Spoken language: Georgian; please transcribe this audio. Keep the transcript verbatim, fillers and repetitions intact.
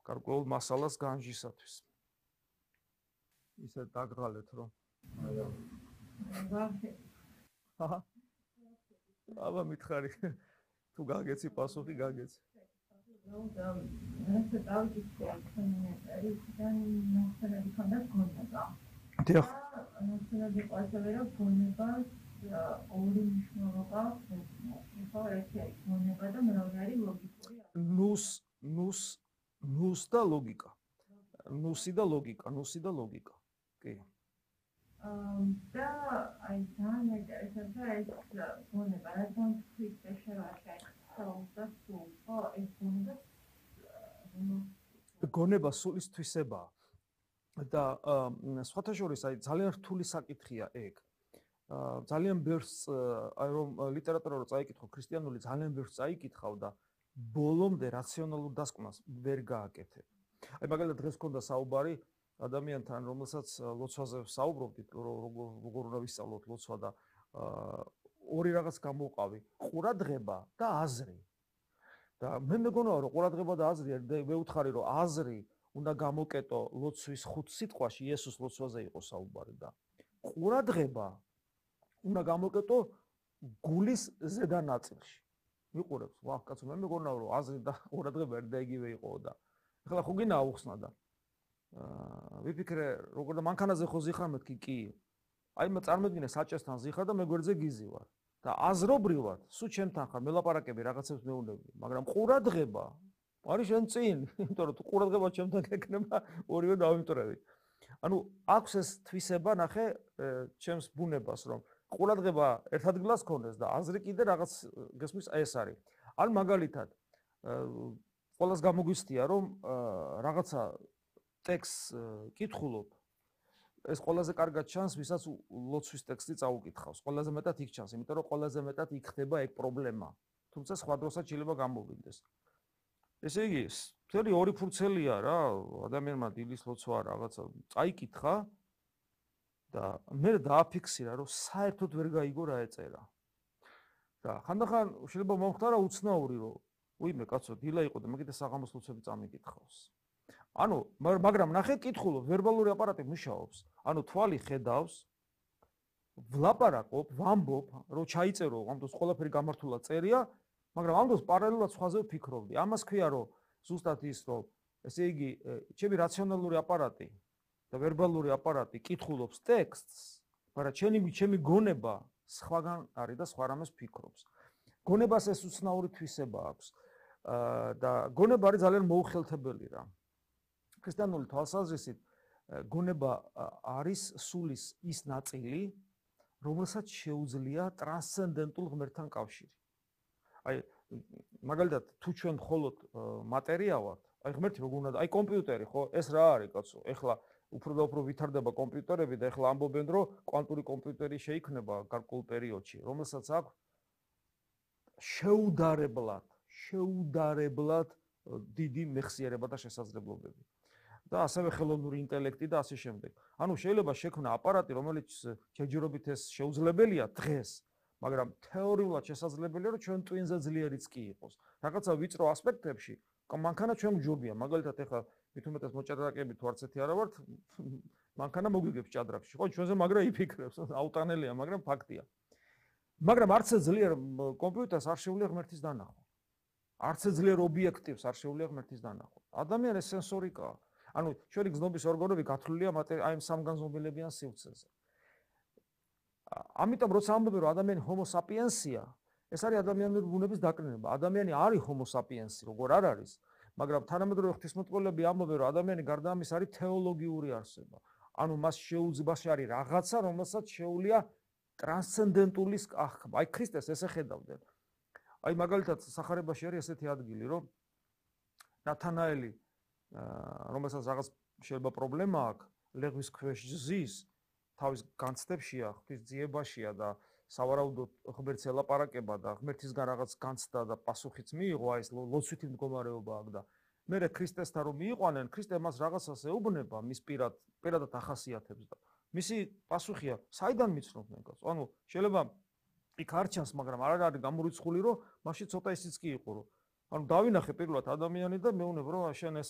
გარკვეულ მასალას განჯისათვის. ისე დაგღალეთ რომ. აჰა. აბა მითხარი. თუ გაგეცი პასუხი გაგეცი. No, that's about it. It's ნახსენები ქონდა გონება. დიახ. ნახსენები ყავდა რომ გონება ორი მნიშვნელობა ხო ერთი გონება და მეორე არის ლოგიკური. ნუს ნუს ნუს და ლოგიკა. ნუსი და ლოგიკა, ნუსი და ლოგიკა. კი. და აი ძალიან ესაა ეს გონება რადგან თვითონ შევარჩა გონება სულის თვისებაა და სხვათა შორის აი ძალიან რთული საკითხია ეგ. ძალიან ბევრს აი რომ ლიტერატურა რო წაიკითხო ქრისტიანული ძალიან ბევრს წაიკითხავ და ბოლომდე რაციონალურ დასკვნას ვერ გააკეთებ. აი მაგალითად დღეს მქონდა საუბარი ადამიანთან რომელსაც ლოცვაზე ვსაუბრობდით როგორ უნდა ვისწავლოთ ლოცვა და ორი რაღაც გამოვყავი ყურადღება და აზრი და მე მეგონაა რომ ყურადღება და აზრი მე ვუთხარი რომ აზრი უნდა გამოკეტო ლოცვის ხუთ სიტყვაში იესოს ლოცვაზე იყო საუბარი და ყურადღება უნდა გამოკეტო გულის ზედა ნაწილში მიყურებს ვახ კაცო მე მეგონაა რომ აზრი და ყურადღება ერთ და იგივე იყო და ეხლა ხო გინდა აუხსნა და აა ვიფიქრე როგორ და მანქანაზე ხო ზიხარ მეთქი კი აი მე წარმოიდგინე საჭესთან ზიხარ და მე გვერდზე გიზი ვარ და აზრობრივად სულ ჩემთან ხარ მელაპარაკები რაღაცებს მეუბნები მაგრამ ყურადღება არის შენ წინ იმიტომ რომ თუ ყურადღება ჩემთან გეკნება ორივე დავიმტრევი ანუ აქვს ეს თვისება ნახე ჩემს ბუნებას რომ ყურადღება ერთ ადგილას ქონდეს და აზრი კიდე რაღაც გესმის ეს არის ან მაგალითად ყველას გამოგვიცდია რომ რაღაცა ტექსტს კითხულობ ეს ყველაზე კარგად ჩანს, ვისაც ლოცვის ტექსტი წაუკითხავს. ყველაზე მეტად იქ ჩანს, იმიტომ რომ ყველაზე მეტად იქ ხდება ეგ პრობლემა. თუმცა სხვა დროსაც შეიძლება გამოვიდეს. ესე იგი, მთელი ორი ფურცელია რა, ადამიანმა დილის ლოცვა რაღაცა წაიკითხა და მე დააფიქსირა, რომ საერთოდ ვერ გაიგო რა ეწერა. და ხანდახან შეიძლება მომხდარა უცნაური, რომ უიმე კაცო, დილა იყო და მე კიდე საღამოს ლოცვები წამიკითხავს. ანუ მაგრამ ნახე კითხულობ ვერბალური აპარატი მუშაობს ანუ თვალი ხედავს ვლაპარაკობ ვამბობ რომ ჩაიწერო ამ დროს ყველაფერი გამართულად წერია მაგრამ ამ დროს პარალელურად სხვაზე ვფიქრობდი ამას ქვია რომ ზუსტად ის რომ ესე იგი ჩემი რაციონალური აპარატი და ვერბალური აპარატი კითხულობს ტექსტს მაგრამ ჩემი ჩემი გონება სხვაგან არის და სხვა რამეს ფიქრობს გონებას ეს უცნაური თვისება აქვს და გონება არის ძალიან მოუხელთებელი რა ქრისტიანული თვალსაზრისით გონება არის სულის ის ნაწილი, რომელსაც შეუძლია ტრანსცენდენტულ ღმერთთან კავშირი. აი, მაგალითად, თუ ჩვენ მხოლოდ მატერია ვართ, აი ღმერთი როგორ უნდა, აი კომპიუტერი, ხო, ეს რა არის, კაცო? ეხლა უფრო და უფრო ვითარდება კომპიუტერები და ეხლა ამბობენ, რომ კვანტური კომპიუტერი შეიქმნება გარკვეულ პერიოდში, რომელსაც აქვს შეუდარებლად, შეუდარებლად დიდი მეხსიერება და შესაძლებლობები. და ასევე ხელოვნური ინტელექტი და ასე შემდეგ. ანუ შეიძლება შექმნა აპარატი, რომელიც ჯერჯერობით ეს შეუძლებელია დღეს, მაგრამ თეორიულად შესაძლებელია, რომ ჩვენ ტვინზე ძლიერიც კი იყოს. რაღაცა ვიწრო ასპექტებში, მანქანა ჩვენ გჯობია. მაგალითად, ეხლა მithumetes მოჭადრაკეები თუ არც ერთი არა ვართ, მანქანა მოგვიგებს ჭადრაკში. ხო, ჩვენზე მაგრა იფიქრებს, აუტანელია, მაგრამ ფაქტია. მაგრამ არც ძლიერ კომპიუტერს არ შეუძლია ღმერთის დანახვა. არც ძლიერ ობიექტივს არ შეუძლია ღმერთის დანახვა. ადამიანის სენსორიკაა. ანუ ჩვენი გზნობის ორგანოები გათვლილია აი ამ სამგანზომილებიან სივრცეზე. ამიტომ როცა ამბობენ რომ ადამიანი ჰომო საპიენსია, ეს არის ადამიანური ბუნების დაკნინება. ადამიანი არის ჰომო საპიენსი, როგორ არ არის, მაგრამ თანამედროვე ღვთისმეტყველები ამბობენ რომ ადამიანი გარდა ამის არის თეოლოგიური არსება. ანუ მას შეუძლია არის რაღაცა, რომელსაც შეუძლია ტრანსცენდენტულის აღქმა. აი ქრისტეს ესე ხედავდნენ. აი მაგალითად სახარებაში არის ესეთი ადგილი, რომ ნათანაელი რომელსაც რაღაც შეიძლება პრობლემა აქვს, ლეგვის ქვეშ ზის, თავის განცდებშია, ღვთის ძიებაშია და სავარაუდოდ ღმერთს ელაპარაკება და ღმერთისგან რაღაც განცდა და პასუხიც მიიღო, აი ეს ლოცვითი მდგომარეობა აქვს და მერე ქრისტესთან რომ მიიყვანენ, ქრისტე მას რაღაცას ეუბნება, მის პირად, პირადად ახასიათებს და მისი პასუხია, საიდან მიცნობდნენ კაცო? ანუ შეიძლება იქ არ ჩანს, მაგრამ არ არის გამორიცხული, რომ მასში ცოტა ისიც კი იყო, რომ ანუ დავინახე პირველად ადამიანი და მეუბნებ, რომ შენ ესე